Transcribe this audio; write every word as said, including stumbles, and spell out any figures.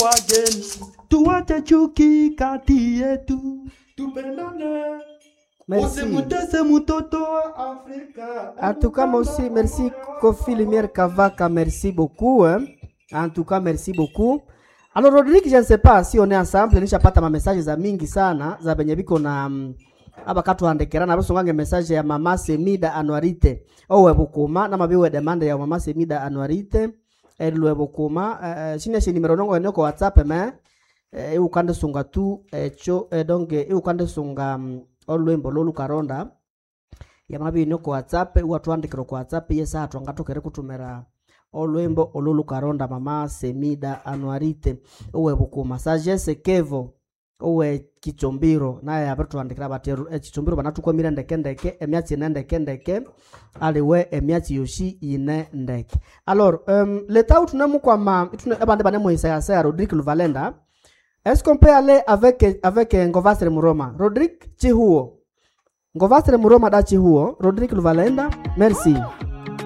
wageni, tuache chuki kati yetu, tupendane. Merci. Usimutese mtoto wa Afrika. En tout cas, moi aussi, merci Kofi Lumière Kavaka, merci beaucoup. Hein. En tout cas, merci beaucoup. Alors, Rodrigue, je ne sais pas si on est ensemble, nishapata ma message za mingi sana za benye biko na mm, aba katuandikira nabasongange message ya mama Semida Anuarite owe bukuma namabiwe demande ya mama Semida Anuarite elwe bukuma eh, shine shi nimero nongo eneko WhatsApp me eh, iukande sunga tu echo eh, donc iukande sunga mm, olwembo lolukaronda yamabini ku whatsapp iwathuandikira ku whatsapp yesa twangatokere kutumira olwembo olulukaronda mama Semida Anuarite owe bukuma sagesse kevo owe kichombiro naye abirituandikira bati ekichombiro banathukwamire ndeke emyatsi ine ndeke ndeke aliwe emyatsi yoshi ine ndeke alors um, leta thunemukwama abandi banemuhisayasaya Rodrigue Luvalenda est-ce qu'on peut aller avec avec Ngovasre Muroma Rodrigue Chihuo Ngovasre Muroma da Chihuo Rodrigue Luvalenda merci.